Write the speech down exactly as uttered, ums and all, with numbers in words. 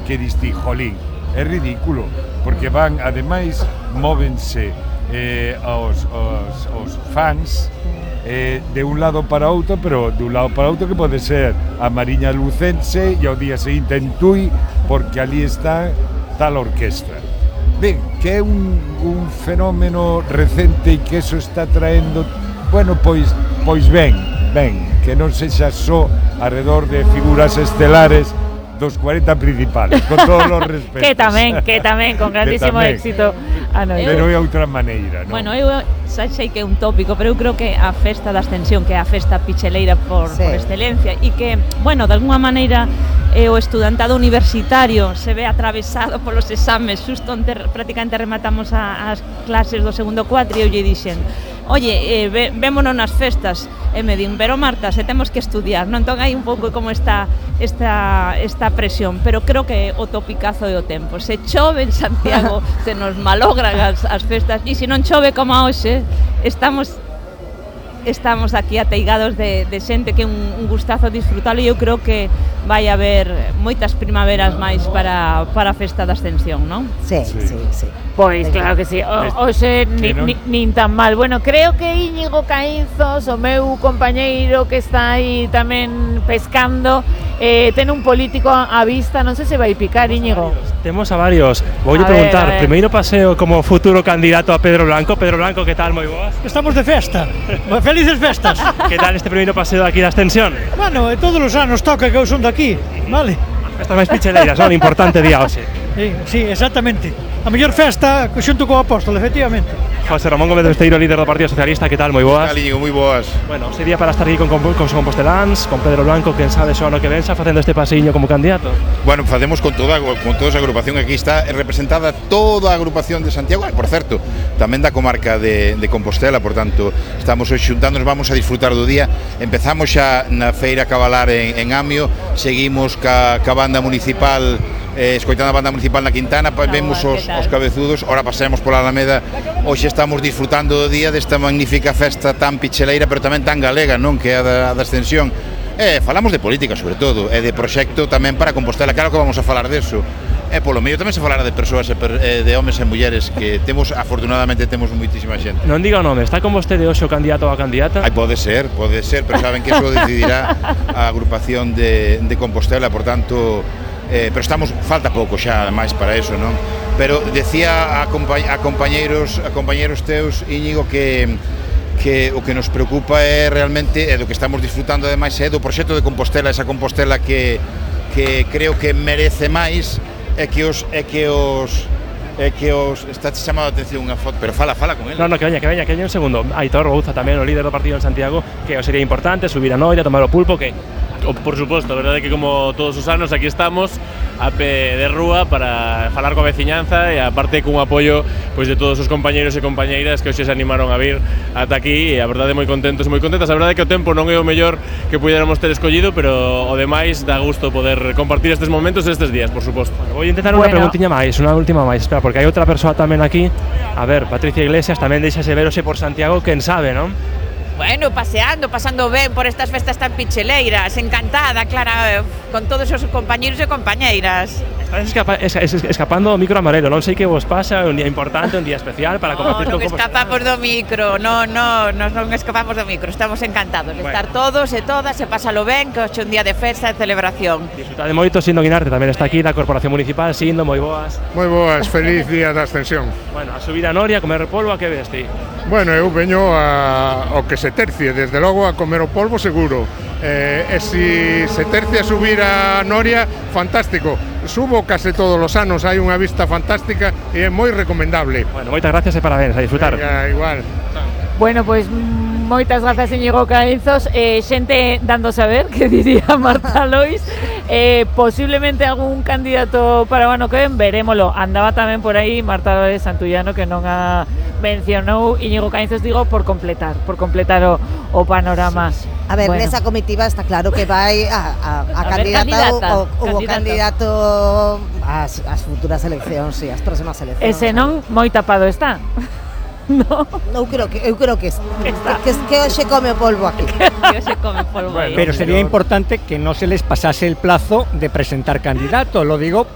que diste, jolín, é ridículo, porque van, ademais, móvense eh, os, os, os fans eh, de un lado para outro, pero de un lado para outro que pode ser a Mariña Lucense e ao día seguinte en Tui, porque ali está tal orquestra. Ben, que é un, un fenómeno recente e que eso está traendo, bueno, pois, pois ben, ben, que non sexa só alrededor de figuras estelares dos cuarenta principales, con todos os respetos. Que tamén, que tamén, con grandísimo éxito. Ah, no, pero é outra maneira, non? Bueno, eu xa sei que é un tópico, pero eu creo que a festa da Ascensión, que é a festa picheleira por, sí. por excelencia, e que, bueno, de alguna maneira eh, o estudantado universitario se ve atravesado polos exames, xusto onde prácticamente rematamos a, as clases do segundo cuatri, e eu lle dixen, oye, eh, ve, vémonos nas festas, e me din, pero Marta, se temos que estudiar, non? Entón hai un pouco como esta, esta, esta presión, pero creo que o topicazo é o tempo. Se chove en Santiago, se nos malogran as, as festas, e se non chove como hoxe, estamos estamos aquí ateigados de, de xente que é un, un gustazo disfrutalo, e eu creo que vai haber moitas primaveras máis para, para a festa da Ascensión, non? Sí, sí, sí, sí. Pois claro que sí, o, hoxe ni, ni, nin tan mal. Bueno, creo que Íñigo Caínzos, o meu compañeiro que está aí tamén pescando, eh, ten un político a vista, non sei se vai picar, Íñigo. Temos a varios. Voulle preguntar, primeiro paseo como futuro candidato a Pedro Blanco. Pedro Blanco, que tal, moi boas? Estamos de festa, felices festas. Que tal este primeiro paseo aquí da Ascensión? Bueno, todos os anos toca que eu son daqui, vale? Festas máis picheleiras, non? Importante día hoxe. Sí, sí, exactamente. A mellor festa xunto co Apóstol, efectivamente. José Ramón Gómez Besteiro, líder do Partido Socialista, que tal, moi boas? Que tal, Íñigo, moi boas. Bueno, sería para estar aquí con, con, con composteláns, con Pedro Blanco, quen sabe só ano que venxa, facendo este paseiño como candidato. Bueno, facemos con toda, con toda esa agrupación, aquí está representada toda a agrupación de Santiago, por certo, tamén da comarca de, de Compostela, por tanto, estamos hoxe xuntándonos, vamos a disfrutar do día. Empezamos xa na feira Cabalar en, en Amio, seguimos ca, ca banda municipal, eh, escoitando a banda municipal na Quintana, no, vemos os, os cabezudos, ora pasemos pola Alameda. Hoxe estamos disfrutando do día desta magnífica festa tan picheleira, pero tamén tan galega, non? Que é a da, a da Ascensión. E falamos de política, sobre todo, e de proxecto tamén para Compostela, claro que vamos a falar deso. E polo medio tamén se falará de persoas, de homes e mulleres, que temos, afortunadamente, temos moitísima xente. Non diga o nome, está con vostede hoxe o candidato ou a candidata? Ai, pode ser, pode ser, pero saben que eso decidirá a agrupación de, de Compostela, por tanto, eh, pero estamos, falta pouco xa, máis para eso, non? Pero decía a, compa a compañeiros, a compañeiros teus, Íñigo, que que o que nos preocupa é realmente, é do que estamos disfrutando ademais, é do proxecto de Compostela, esa Compostela que, que creo que merece máis, é que os é que os é que os está chamando a atención unha foto, pero fala, fala con ele. Non, non, que veña, que veña, que veña un segundo. Aitor Bouza tamén, o líder do partido en Santiago, que sería importante subir a Noia, tomar o pulpo, que Por suposto, a verdade é que como todos os anos aquí estamos a pé de rúa para falar coa veciñanza e aparte cun apoio pois de todos os compañeiros e compañeiras que hoxe se animaron a vir ata aquí e a verdade moi contentos e moi contentas. A verdade é que o tempo non é o mellor que puidéramos ter escollido, pero o demais dá gusto poder compartir estes momentos e estes días, por suposto. Bueno, vou intentar unha bueno. preguntiña máis, unha última máis, espera, porque hai outra persoa tamén aquí. A ver, Patricia Iglesias tamén deixase ver hoxe por Santiago, quen sabe, non? Bueno, paseando, pasando ben por estas festas tan picheleiras, encantada, Clara, con todos os compañeiros e compañeiras. Estás escapa es es escapando do micro amarelo, non sei que vos pasa, un día importante, un día especial para compartir no, con... Non escapamos do micro, non, non, nos non escapamos do micro, estamos encantados de bueno. estar todos e todas, e pásalo ben, que hoxe un día de festa e celebración. Disfrutade moito, Sindo Guinarte tamén está aquí, da Corporación Municipal. Sindo, moi boas. Moi boas, feliz día da Ascensión. Bueno, a subir a Noria, a comer polvo, a que ves ti? Bueno, eu veño a, ao que se tercie, desde logo a comer o polvo seguro. Eh, e si se tercia a subir a Noria, fantástico. Subo case todos os anos, hai unha vista fantástica e é moi recomendable. Bueno, moitas gracias e parabéns, a disfrutar. Venga, igual. Bueno, pois moitas grazas, Íñigo Caínzos. Eh, xente dando a saber, que diría Marta Lois. Eh, posiblemente algún candidato para o ano que ven, verémolo. Andaba tamén por aí Marta Lois Santullano, que non a mencionou Íñigo Caínzos, digo, por completar, por completar o, o panorama. Sí, sí. A ver, bueno. Nesa comitiva está claro que vai a, a, a, a candidata ou o candidato ás, ás futuras eleccións, si, sí, ás próximas eleccións. Ese non moi tapado está. No. Eu creo que eu creo que que, que, que hoxe come o polvo aquí. Que hoxe come polvo. Bueno, pero sería importante que no se les pasase el plazo de presentar candidato, lo digo